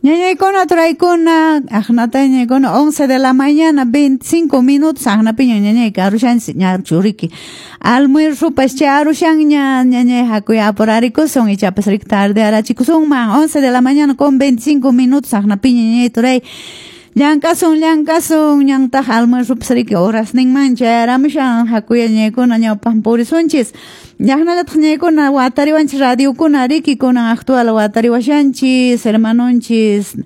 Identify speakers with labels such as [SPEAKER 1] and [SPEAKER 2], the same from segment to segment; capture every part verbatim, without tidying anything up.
[SPEAKER 1] Ñañaykuna turaykuna aqnata ñañaykuna once de la mañana veinticinco minutos aqnapiña ñañay karushanchis ña churiki almuerzopas chay arushanña ñañay hakuy apurarikusun ichapas riki tarde arachikusunman once de la mañana con veinticinco minutos aqnapiña ñañay turay llank'asun llank'asun ñantaq almuerzopas riki horasninman chayaramushan hakuy ñañaykuna ñawpaq purisunchis llaqnallataq ñañaykuna watariwanchis radiokuna riki kunan actual watariwashanchis hermanonchis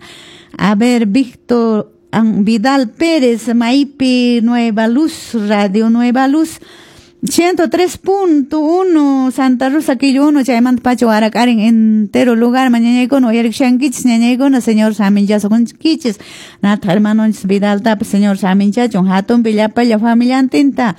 [SPEAKER 1] a ver Víctor Vidal Pérez Maipi Nueva Luz Radio Nueva Luz ciento tres punto uno Santa Rosa Quillo uno chaymanta pacha warak'arin entero lugar mañañaykuna uyarikushankichis ñañaykuna señor saminchasunkichis nataq hermanonchis Vidaltapas señor saminchachun hatunpi llapalla familiantinta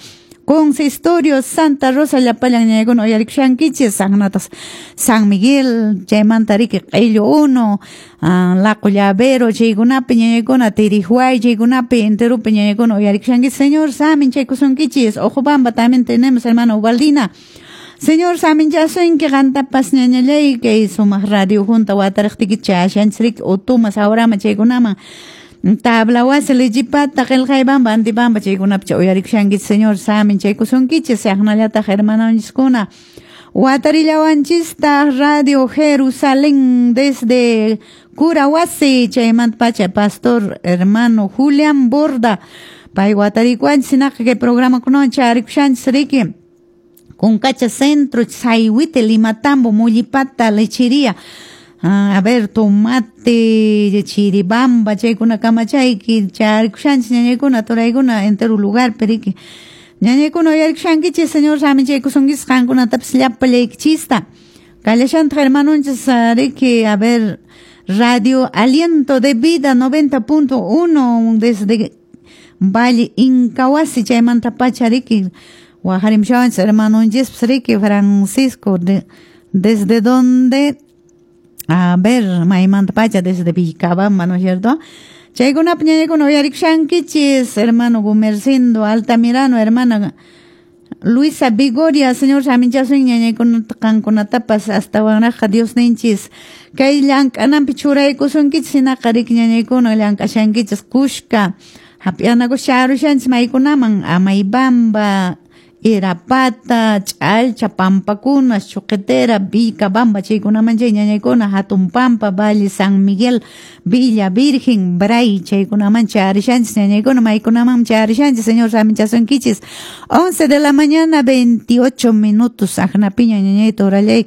[SPEAKER 1] Consistorio Santa Rosa llapallan ñañaykuna uyarikushankichis aqnataq San Miguel chaymanta riki Q'illu uno Laqo Llavero chaykunapi ñañaykuna Tirihuay chaykunapi enteropi ñañaykuna uyarikushankichis señor saminchaykusunkichis Ojobamba también tenemos hermano Ubaldina Señor saminchasunki qantapas ñañallay kay sumaq radio junta watariqtiykichis chayashanchis riki Utuma Sawrama chaykunaman Tabla wasi Lichipata qillqaybamba Antibamba chaykunapi uyarikushankichis señor saminchaykusunkichis aqnallataq hermanonchiskuna watarillawanchistaq Radio Jerusalén desde Curahuasi chaymanta pacha pastor hermano Julián Borda pay watarikuanchis hinaqa kay programakunawan charikushanchis riki Kunkacha Centro Sayhuite Limatambo Mullipata Lechería Ah, a ver, tomate, chiribamba, chaykuna kamachayki, charikushanchis ñañaykuna, turaykuna, entero lugar, periki. Ñañaykuna uyarikushankichis, señor saminchaykusunkichis, qankunatapas llapallaykichista. Kallashantaq hermanonchis, riki, a ver, Radio Aliento de Vida noventa punto uno desde Valle Incahuasi, chaymanta pacha, riki, waqarimushawanchis hermanonchispas, riki, Francisco, de, desde donde... A ver, maymanta pacha desde Vilcabamba, ¿no es cierto? Chaykunapi ñañaykuna uyarikushankichis, hermano Gumercindo Altamirano, hermana Luisa Vigoria, señor saminchasun ñañaykunata qankunatapas astawanraqqa Dios ninchis. Kay llank'ananpi churaykusunkichis hinaqa riki ñañaykuna llank'ashankichis kushka hap'yanakuspa charushanchis maykunaman Amaybamba, Irapata, Ch'alcha, Pampakuna, Chuquetera, Vilcabamba, chaykunaman chay ñañaykuna, Hatun Pampa, Valle San Miguel, Villa Virgen, Bray, chaykunaman charishanchis ñañaykuna, maykunaman charishanchis, señor saminchasunkichis. once de la mañana, veintiocho minutos, aqnapiña ñañayta orallayki.